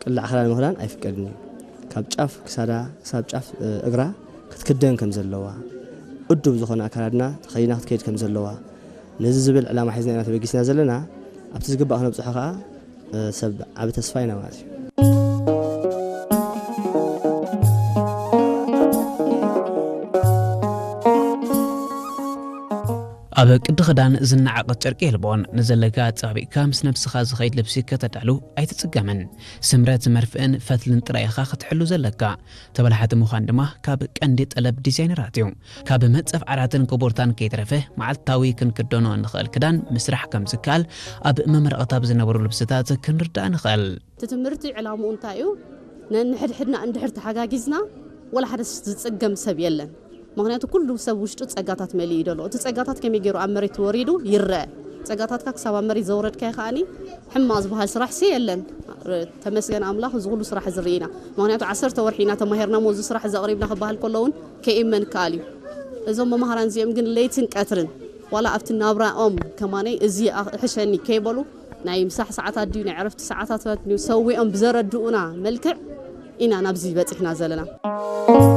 ቅላዕ ክዳን ምኽዳን ኣይፍቀድን እዩ። ካብ ጫፍ ክሳዳ ክሳብ ጫፍ እግራ ክትክደን ከም ዘለዋ፣ እዱብ ዝኾነ ኣካላድና ተኸዲና ክትከይድ ከም ዘለዋ፣ ነዚ ዝብል ዕላማ ሒዝና ኢና ተበጊስና ዘለና። ኣብቲ ዝግባእ ክነብፅሖ ከዓ ሰብ ዓቢ ተስፋ ኢና ማለት እዩ። ኣብ ቅዲ ክዳን ዝነዓቐ ጨርቂ የልቦን። ንዘለካ ኣጻቢቕካ ምስ ነብስኻ ዝኸይድ ልብሲ ከተዳሉ ኣይትጽገምን። ስምረት መርፍእን ፈትልን ጥራይ ኢኻ ክትሕሉ ዘለካ። ተበላሓቲ ምዃን ድማ ካብ ቀንዲ ጠለብ ዲዛይነራት እዩ። ካብ መጸፍ ዓራትን ኮቦርታን ከይተረፈ መዓልታዊ ክንክደኖ እንኽእል ክዳን ምስራሕ ከም ዝከኣል ኣብ መመረቕታ ብዝነበሩ ልብስታት ክንርዳእ ንኽእል። እቲ ትምህርቲ ዕላምኡ እንታይ እዩ? ነንሕድሕድና እንድሕር ተሓጋጊዝና ወላ ሓደ ዝጽገም ሰብ የለን። ምኽንያቱ ኩሉ ሰብ ውሽጡ ጸጋታት መሊኡ እዩ ዘሎ። እቲ ጸጋታት ከመይ ገይሩ ኣብ መሬት ወሪዱ ይረአ። ጸጋታትካ ክሳብ ኣብ መሬት ዘውረድካዮ ከኣኒ ሕማቕ ዝበሃል ስራሕ ሲ የለን። ተመስገን ኣምላኽ እዚ ኩሉ ስራሕ እዚ ርኢና። ምኽንያቱ ዓሰርተ ወርሒ ኢና ተማሂርና እሞ እዚ ስራሕ እዚ ኣቕሪብና ክበሃል ከሎ እውን ከይእመን ይከኣል እዩ። እዞም መምሃራን እዚኦም ግን ለይትን ቀትርን ዋላ ኣብቲ ናብራኦም ከማነይ እዚ ይሕሸኒ ከይበሉ ናይ ምሳሕ ሰዓታት ድዩ ናይ ዕረፍቲ ሰዓታት ድዩ ሰዊኦም ብዘረድኡና መልክዕ ኢና ናብዚ በፂሕና ዘለና።